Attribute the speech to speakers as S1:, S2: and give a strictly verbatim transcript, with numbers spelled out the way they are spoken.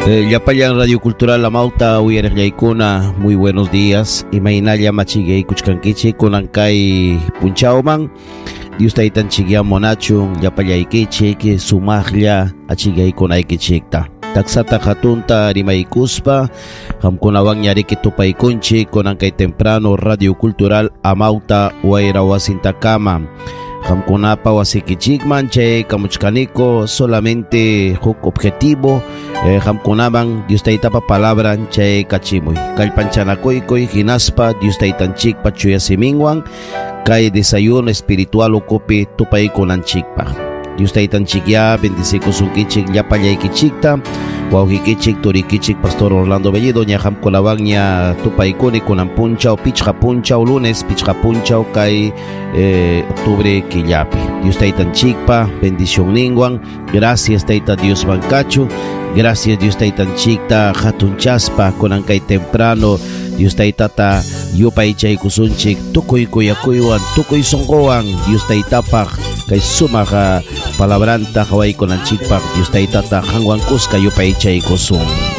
S1: Eh, Llapallan Radio Cultural Amauta uyariqllaykuna, muy buenos días. Imaynalla machigaykuchkankichik kunan kay punchawman. Dios taytanchikya munachun llapallaykichik sumaqlla achigaykunaykichikta. Taksata hatunta rimaykuspa qamkunawan ñariki tupaykunchik kunan kay temprano Radio Cultural Amauta wayra wasintakama. Qamkunapa wasikichikman chay kamuchkaniko solamente huk objetivo eh, qamkunaman Dios taytapa palabran chay kachimuy kallpanchanakuykuy hinaspa Dios taytanchikpa chuya siminwan kay desayuno espiritual ukupi tupaykunanchikpaq. Dios taytanchikya bendecikusunkichik llapallaykichikta wawqikichik turikichik Pastor Orlando Bellido ña qamkunawan ña tupaykuni kunan punchaw pichqa punchaw lunes pichqa punchaw kay eh, octubre killapi. Dios taytanchikpa bendicionninwan gracias tayta Dios bankachu gracias Dios taytanchikta hatunchaspa kunan kay temprano Dios taytata yupaychaykusunchik tukuy kuyakuywan tukuy sunquwan Dios taytapaq kay sumaq palabranta qawaykunanchikpaq Dios taytata qanwan kuska yupaychaykusun.